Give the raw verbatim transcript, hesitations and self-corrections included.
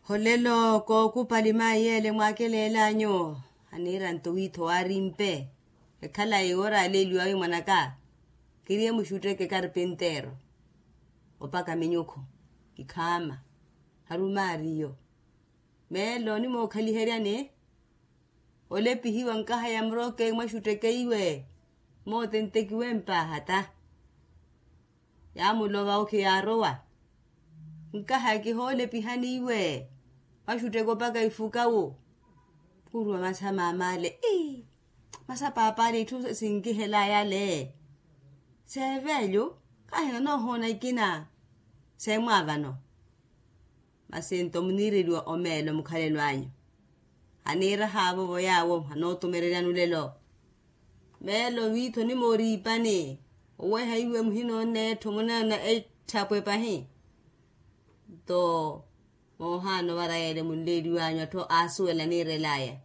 Holelo kookupali mayi ele mwakelelanyu. Aniira nto wiitho waarimpe. Ekhala iwora aleeliwawe mwanaka. Kiriye muxutteke karpintero opaka minyukhu. Ikhaama. Harumaariyo. Meelo onimookhaliheryani. Olepihiwa nkaha ya murooke mwaxutteke iwe. Moote ntekiwe mpaaha ta. Yaamulova okhi yaarowa. Nkaha kihoolepihani iwe. Mwaxutteke opaka ifukawu. Khuruwa masa maamale ii. Masa paapale itthu sinkihelaya ale. Seevelyu. Kahina noohoona ikina. Seemwaavano. Masi nto muniireliwa omeelo mukhalelo anyu. Aniirahaavo vo yaawo anootumereryani olelo. Meelo wiithi onimooriipani. Oweha iwe muhinoona etthu muneena etthapwe pahi. Nto moohaana ovara yeele munleeliwanyu atthu aasuwela aniirelaya.